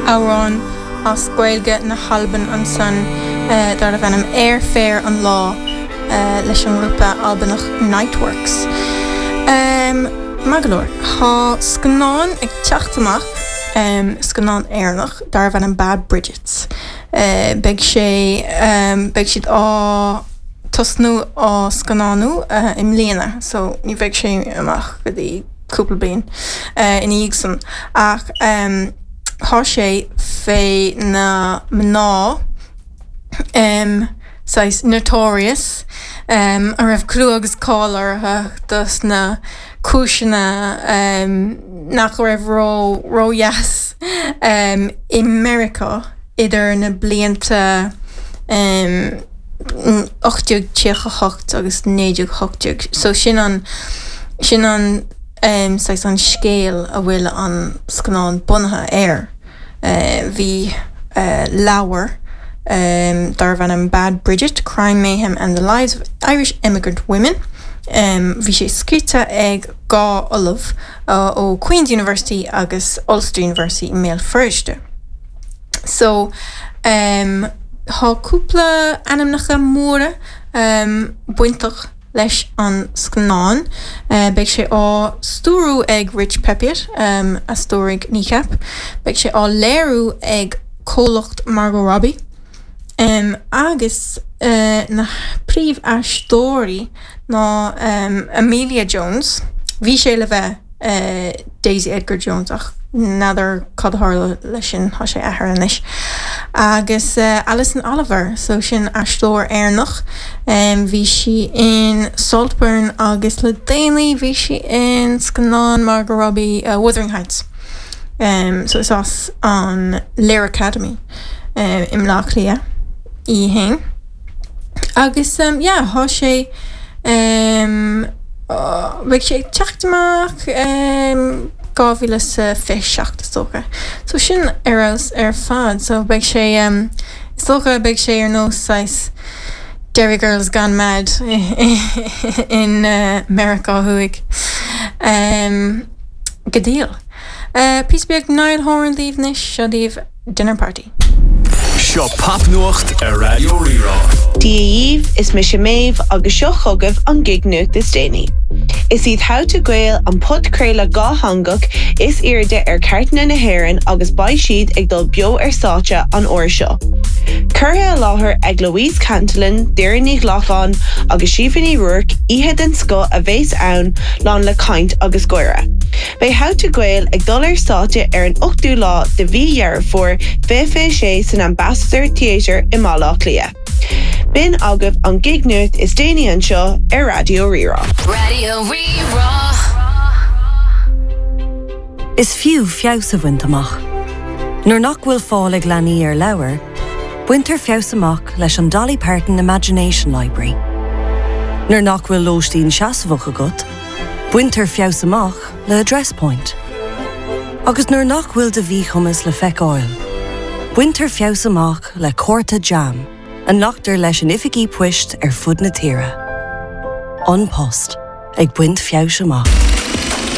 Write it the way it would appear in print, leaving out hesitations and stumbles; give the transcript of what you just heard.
Amhrán as Gaeilge na hAlban ansan darbh ainm Air Fair an Lá leis an ngrúpa Albanach Niteworks. Maith go leor, tá scannán ag teacht amach, scannán Éireannach darbh ainm Bad Bridget. Beidh sé, beidh siad á tosnú á scannánú i mbliana so ní bheidh sé amach go dtí cúpla bliain ina dhiaidh san. Ach tá sé fé na mná saghas notorious a raibh clú agus cáil orthu dos na cúiseanna nach raibh ró ródheas i Meiriceá idir na blianta 1838 agus 1918. So sin an, sin an saghas an scéal a bhfuil an scannán bunaithe air. Bhí leabhar darbh ainm Bad Bridget, Crime, Mayhem and the Lives of Irish Emigrant Women, bhí sé scríte ag 2 ollamh ó Queen's University agus Ulster University i mBéal Feirste. So, tá cúpla ainmneacha móra bainteach leis an scannán. Beidh sé á stiúrú ag Rich Peppiatt, a stiúraigh Kneecap. Beidh sé á léiriú ag comhlacht Margot Robbie. Agus na príomhaisteoirí ná Emilia Jones, bhí sé le bheith Daisy Edgar Jones ach n'fheadar cad a tharla leis sin, tá sé athraithe anois. Agus Alison Oliver, so sin aisteoir Éireannach, bhí sí in Saltburn agus le déanaí bhí sí in scannán Margot Robbie, Wuthering Heights. So is as an Lir Academy i mBleá Cliath í fhéin. Agus yeah, thá sé beidh sé ag teacht amach 2027 is dócha. So sin ar fheabhas ar fad. So beidh sé is dócha beidh sé ar nós saghas Derry Girls Gone Mad in Meiriceá Thuaidh. Go diail. Píosa beag Niall Horan daoibh anois, seo daoibh Dinner Party. Seo Popnuacht ar Raidió Rí-Rá. Dia dhaoibh, is mise Méabh agus seo chugaibh an gig-nuacht is déanaí. Is iad How to Gael an podchraoladh dhátheangach is airde ar chairteanna na hÉireann agus beidh siad ag dul beo ar stáitse an uair seo. Curtha i láthair ag Louise Cantillon, Doireann Ní Ghlacáin agus Síofra Ní Ruairc, oíche den scoth a bheas ann, lán le caint agus gáire. Beidh How to Gael ag dul ar stáitse ar an 8ú lá de mhí Dheireadh Fómhair 2026 san Ambassador Theatre i mBaile Átha Cliath. B'in agaibh an gig-nuacht is déanaí anseo ar Raidió Rí-Rá. Raidió Rí-Rá. Is fiú feabhas a bhaint amach. Nuair nach bhfuil fáil ag leanaí ar leabhair, baintear feabhas amach leis an Dolly Parton Imagination Library. Nuair nach bhfuil lóistín seasmhach agat, Baintear feabhas amach le Address Point. Agus nuair nach bhfuil do mhíchumas le feiceáil, baintear feabhas amach le cárta JAM a nglactar leis in oifigí poist ar fud na tíre. An Post, ag baint feabhais amach.